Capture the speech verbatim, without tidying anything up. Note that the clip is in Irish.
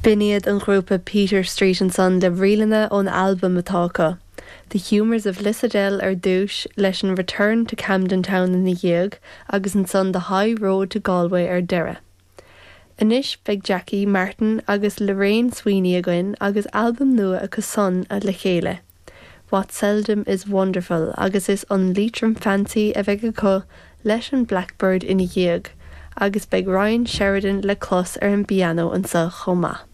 B'in iad an grúpa Peter Street ansan le ríleanna ón albam atá acu. The Humours of Lissadell ar dtús leis an Return to Camden Town ina dhiaidh agus ansan the High Road to Galway ar deireadh. Anois beidh Jackie Martin agus Lorraine Sweeney againn agus albam nua acu san a le chéile. What seldom is wonderful agus is an Leitrim Fancy a bheidh acu leis an Blackbird ina dhiaidh, agus beidh Ryan Sheridan le clos ar an bpianó anseo chomh maith.